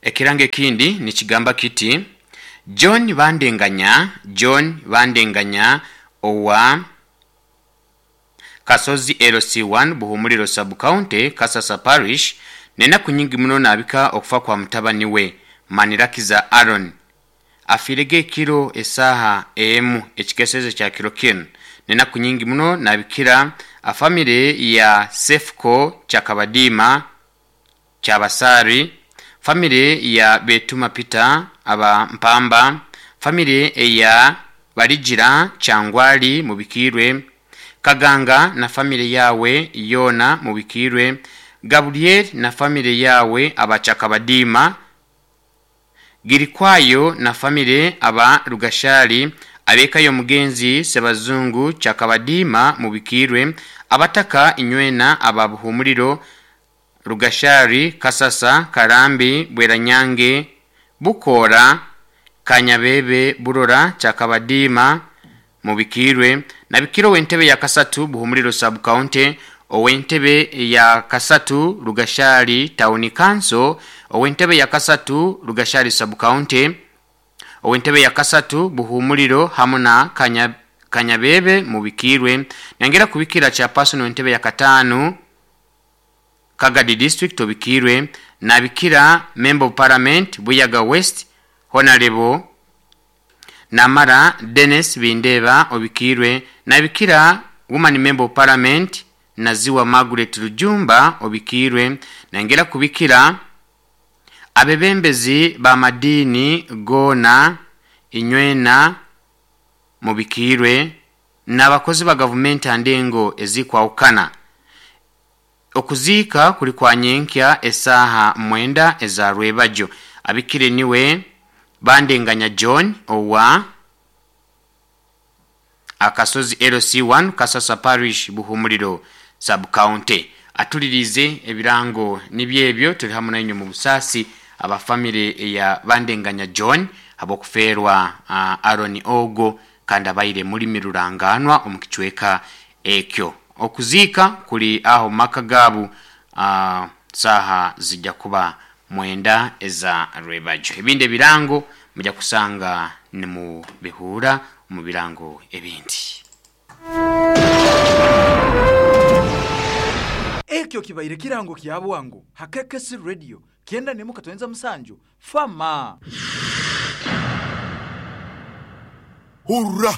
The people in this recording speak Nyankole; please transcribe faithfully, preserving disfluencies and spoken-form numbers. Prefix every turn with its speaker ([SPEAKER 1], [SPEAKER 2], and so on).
[SPEAKER 1] Ekirango ekindi nikigamba kiti, John Bandenganya, John Bandenganya owa Kasozi L C one Buhumuliro Sub-County, Kasasa Parish, n'enaku nyingi muno naabika okufa kwa mutabani we Manirakiza Aaron afiirege ekiro esaaha emu ekikeeseze kya kiro kinu. N'enaku nyingi muno naabikira afamire ya Sefco Kyakabadiima Kyabasaari, famire ya Betuma Peter aba Mpamba, famire eya Baligira Kyangwali Mubikiirwe, Kaganga na famire yaawe yoona Mubikiirwe, Gabriel na famire yaawe aba Kyakabadiima, Girikwayo na famire aba Rugashari, ab'eka y'omugenzi Sebazungu Kyakabadiima Mubikiirwe, abataka inywena aba Buhumuliro, Rugashari, Kasasa, Karambi, Bweranyange, Bukoora, Kanyabebe, Burora, Kyakabadiima Mubikiirwe, nabikira ow'entebe ya kasatu Buhumuliro Sub-County, ow'entebe ya kasatu Rugashari Town Council, ow'entebe ya kasatu Rugashari Sub-County, ow'entebe ya kasatu Buhumuliro hamu na Kanya, Kanyabebe Mubikiirwe. Nyongera kubikira chairperson w'entebe ya kataano Kagadi District Obikiirwe, nabikira Member of Parliament Buyaga West Honorable Namara Dennis Bindeba Obikiirwe, nabikira Woman Member of Parliament Naziwa Margaret Rujumba Obikiirwe. Nengera kubikira abebembezi b'amadiini goona inywena mubikiirwe, n'abakozi ba gavumenti andengo ezikwawukana. Okuziika kuli kwa nyenkya esaaha mwenda eza rwebajo. Abikire niwe Bandenganya John owa Akasozi L C one, Kasasa Parish, Buhumuliro Sub-County. Atulirize ebirango nibyo ebyo. Tuli hamu nainywe mu busaasi abafamire eya Bandenganya John habw'okufeerwa uh, Aaron ogo, kandi abaire mulimi ruranganwa omu kicweka ekyo. Okuziika kuli aho mu maka gaabu, uh, saaha zijja kuba mwenda eza rwebajo. Ebindi ebirango mujja kusanga nimubihuura mu birango ebindi.
[SPEAKER 2] Ekyo kibaire kirango kya bwangu hakekesi Radio kyenda nemu katwenza musanju fama.
[SPEAKER 3] Hurra!